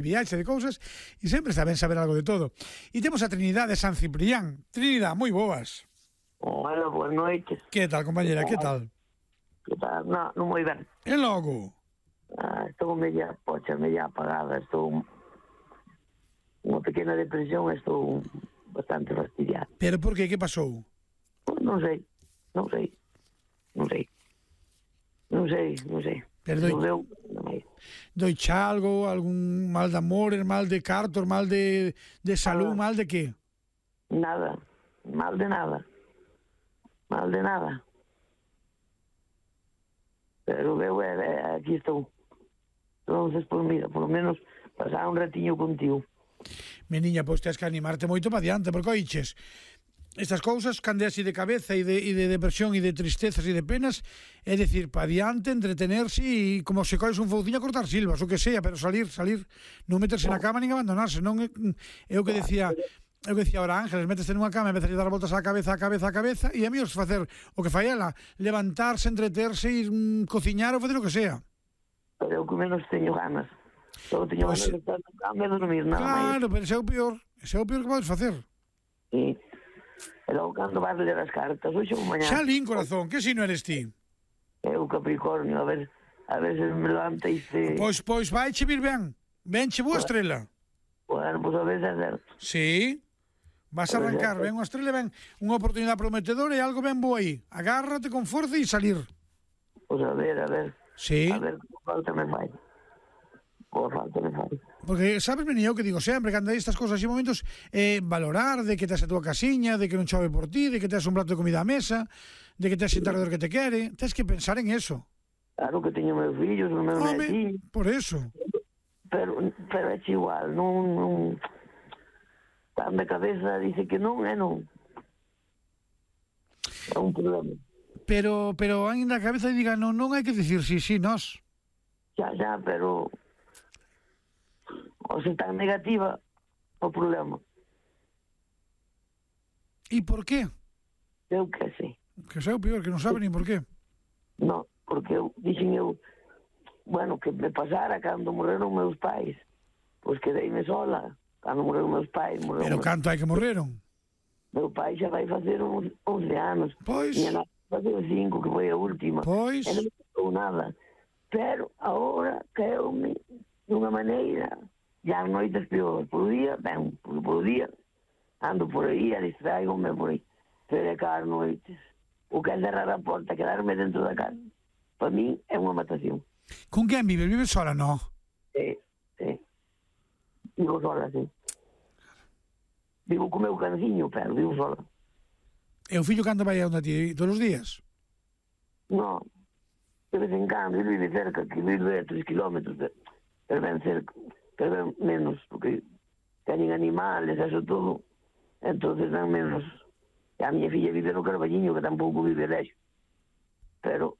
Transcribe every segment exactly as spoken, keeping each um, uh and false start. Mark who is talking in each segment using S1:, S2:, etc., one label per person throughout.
S1: viaxe de cousas e sempre está ben saber algo de todo. E temos a Trinidade San Ciprián. Trinidade, moi boas.
S2: Hola, boas noites.
S1: Que tal, compañera, que tal?
S2: Que tal? No, non moi ben.
S1: E logo?
S2: Ah, estou media pocha, media apagada, estou unha pequena depresión, estou bastante fastidiada.
S1: Pero por que? Que pasou?
S2: Non sei, non sei, non sei, non sei, non sei.
S1: Pero doi,
S2: Deu, non sei.
S1: doi algo, algún mal de amores, mal de cartos, mal de, de salud,
S2: Ah.
S1: mal de que?
S2: Nada, mal de nada, mal de nada. Pero veo, eh, eh, aquí estou. Entonces, pues mira, por lo menos pasar un ratiño contigo.
S1: Mi niña, pois tens que animarte moito para diante, porque oiches, estas cousas cande así de cabeza e de, e de depresión e de tristezas e de penas, é dicir, para diante, entretenerse e como se cois un fouciño a cortar silvas, o que sea, pero salir, salir, non meterse na cama nin abandonarse, non é, é o que decía, é o que decía ahora Ángeles, métese nunha cama e empezar a dar voltas á cabeza, á cabeza, á cabeza, e a mí os facer o que fai ela, levantarse, entreterse, ir mm, cociñar ou facer o que sea.
S2: Pero eu que menos teño ganas. Só teño
S1: Pois,
S2: ganas de estar na cama e dormir, nada máis.
S1: claro, pero ese é o peor, ese é o peor que podes facer.
S2: Sí. E logo cando vas ler as cartas, hoxe ou mañá.
S1: Xa lín, corazón, que si non eres ti?
S2: Eu Capricornio, a ver, a ver se me levanta e se...
S1: Pois, pois, vai che vir ben, venche boa estrela.
S2: Bueno, pois a ver se é certo.
S1: Sí, vas a arrancar, ven unha estrela, ven unha oportunidade prometedora e algo ben bo aí. Agárrate con forza e salir.
S2: Pois a ver, a ver.
S1: Sí.
S2: A ver, como falta me fai. Como falta me fai.
S1: Porque sabes, vení eu que digo sempre, cando hai estas cosas e momentos, eh, valorar de que tes a tua casiña, de que non chove por ti, de que tes un plato de comida á mesa, de que tes xente alrededor que te quere. Tens que pensar en eso.
S2: Claro que teño meus fillos, os meus
S1: Home,
S2: netiños,
S1: por eso.
S2: pero, pero é igual, non... non... Tan de cabeza dice que non, é non. É un problema.
S1: Pero, pero ainda a cabeza diga, non, non hai que dicir sí, sí, nós.
S2: Xa, xa, pero... O se tan negativa, o problema.
S1: E por qué?
S2: Eu que sei.
S1: Que sea o peor, que non sabe nin por qué.
S2: No, porque eu, dixen eu, bueno, que me pasara cando morreron meus pais. Pois quedeime sola. Cando morreron meus pais, morreron
S1: Pero
S2: meus...
S1: canto hai que morreron?
S2: Meu pai xa vai facer uns once anos.
S1: Pois.
S2: Minha nada vai facer cinco, que foi a última.
S1: Pois.
S2: E non me pasou nada. Pero agora caeu-me dunha maneira, ya as noites peor. Por día, ben, por, por día, ando por aí, a distraigome por aí. Pero é cada noites. O que é cerrar a porta, quedarme dentro da casa, para mí é unha matación.
S1: Con quen vive? Vive sola, no?
S2: Sí, sí. Vivo sola, sí. Vivo co meu canciño, pero vivo sola.
S1: E o fillo cando vai a onde ti? Todos os días?
S2: No, de vez en cando, ele vive cerca, que vive a tres kilómetros, pero ben cerca, pero ben menos, porque teñen animales, eso todo, entonces ben menos. E a miña filla vive no Carballiño, que tampouco vive lexo. Pero,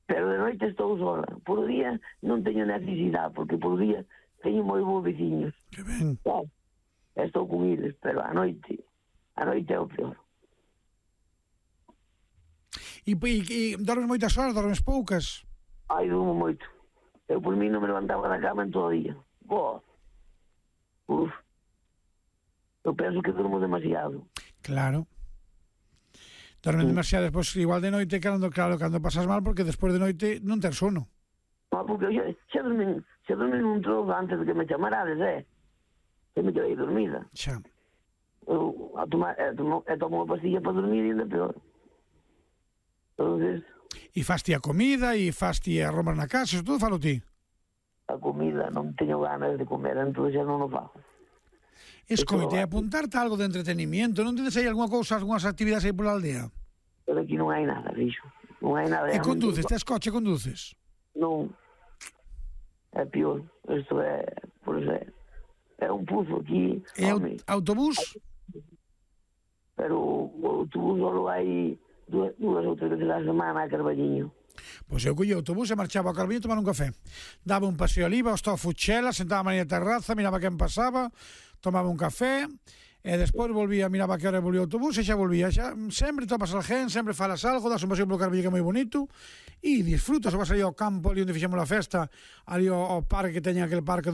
S2: pero de noite estou sola. Por día non teño necesidade, porque por día teño moi bons veciños.
S1: Que ben.
S2: Claro, estou con eles, pero a noite, a noite é o peor.
S1: E, e, e dormes moitas horas, dormes poucas?
S2: Ai, durmo moito. Eu por mí non me levantaba da cama en todo o día. Boa. Uf. Eu penso que durmo demasiado.
S1: Claro. Dormes demasiado, despois igual de noite, cando, claro, cando pasas mal, porque despois de noite non ter sono.
S2: No, porque eu xa, xa dormí, xa dormí nun trozo antes de que me chamarades, eh? Que me quedei dormida.
S1: Xa.
S2: Eu a tomar, eh, tomo, eh, tomo unha pastilla para dormir e ainda peor. Entonces,
S1: E faste a comida, e faste a romas na casa, eso todo falo ti.
S2: a comida non teño ganas de comer, entón xa non o fago.
S1: Escoite, apuntarte a algo de entretenimiento, non tedes aí algunha cousa, algunhas actividades aí pola aldea?
S2: Pero aquí non hai nada, fixo. Non hai nada.
S1: E conduces, tes coche, conduces?
S2: Non. É pior. Isto é, por eso é, é un puzo aquí.
S1: E
S2: home,
S1: autobús?
S2: Pero o autobús só hai dúas, dúas ou tres veces a semana a Carballiño.
S1: Pois eu collía o autobús e marchaba ao Carballiño a tomar un café. Daba un paseo ali, iba ao Estado Fuchela, sentaba na terraza, miraba quen pasaba, tomaba un café E despois volvía, miraba que hora volvía o autobús e xa volvía. Xa, sempre topas alguén, sempre falas algo, das un paseo polo Carballo que é moi bonito e disfrutas, vas ali ao campo ali onde fixemos a festa, ali ao, ao parque que teña aquel parque